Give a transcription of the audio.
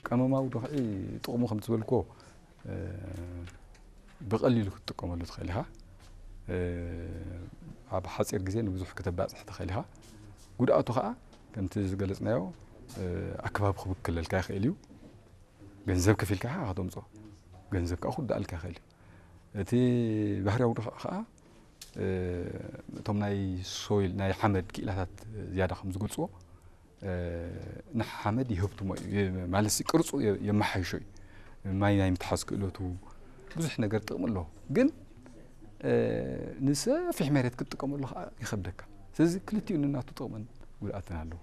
ቀመማዊ ድኽዒ ጥቕሙ ከም ዝበልኩዎ ብቐሊሉ ክትጥቀመሉ ትኽእል ኢኻ። ኣብ ሓፂር ግዜ ንብዙሕ ክተባፅሕ ትኽእል ኢኻ። ጉድኣቱ ከዓ ከምቲ ዝገለፅናዮ ኣከባቢ ክብክለልካ ይኽእል እዩ። ገንዘብ ከፊልካ ኢኻ ከተምፅኦ፣ ገንዘብ ከዓ ክውዳኣልካ ይኽእል እዩ። እቲ ባህርያዊ ድኽዒ ከዓ እቶም ናይ ሶይል ናይ ሓመድ ክኢላታት ዝያዳ ከም ዝገልፅዎ ንሓመድ ይህብትሞ እዩ፣ ማለት ቅርፁ የመሓይሾ እዩ። ማይ ናይ ምትሓዝ ክእለቱ ብዙሕ ነገር ጥቕሚ ኣለዎ። ግን ንሰፊሕ መሬት ክትጥቀመሉ ከዓ ይኸብደካ። ስለዚ ክልቲኡ ንናቱ ጥቕምን ጉድኣትን ኣለዎ።